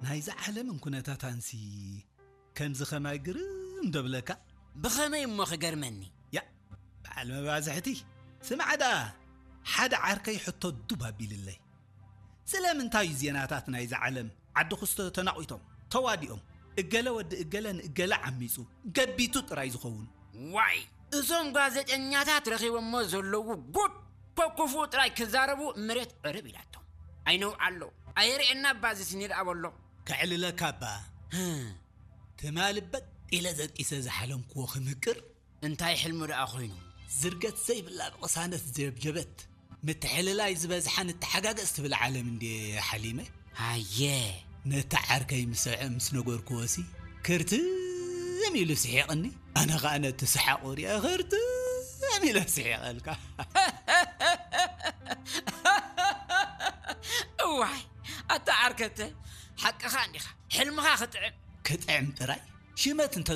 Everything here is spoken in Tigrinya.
ናይዛ ዓለምን ኩነታታንሲ ከምዚ ኸማይ ግርም ዶ ብለካ? ብኸመይ እሞ ክገርመኒ? ያ፣ በዓል መባዝሕቲ፣ ስማዕ ደኣ፣ ሓደ ዓርከይ ሕቶ ዱብ ኣቢልለይ። ስለምንታይ እዩ ዜናታት ናይዛ ዓለም ዓዲ ክስቶ ተናቒቶም፣ ተዋዲኦም፣ እገለ ወዲ እገለ ንእገለ ዓሚጹ፣ ገቢቱ ጥራይ ዝኸውን? ዋይ፣ እዞም ጋዜጠኛታት ረኺቦሞ ዘለዉ ጉድ፣ ኮኩፉ ጥራይ ክዛረቡ መሬት ዕርብ ኢላቶም። ኣይነውዓሎ፣ ኣየርእየና ባዚ ስኒድ ኣበሎ። ከዕልለካ እባ። ትማሊ በጥ ኢለ ዘጢሰ ዝሓለምክዎ ክምቅር። እንታይ ሕልሙ ደኣ ኮይኑ? ዝርገት ዘይብላ ብቕሳነት ዘብጀበት፣ ምትሕልላይ ዝበዝሓ ንተሓጋገዝ ትብል ዓለም እንድየ ሓሊመ። ሃየ። ነቲ ዓርከይ ምስ ምስ ነገርክዎሲ፣ ክርትም ኢሉ ስሒቕኒ። ኣነ ኸኣ ነቲ ሰሓቑ ሪኣ ክርትም ኢለ ስሒቐልካ። እዋይ፣ ኣታ ዓርከተ፣ ሓቅኻ እንዲኻ። ሕልምኻ ክጥዕም። ክጥዕም ጥራይ? ሽመት እንተ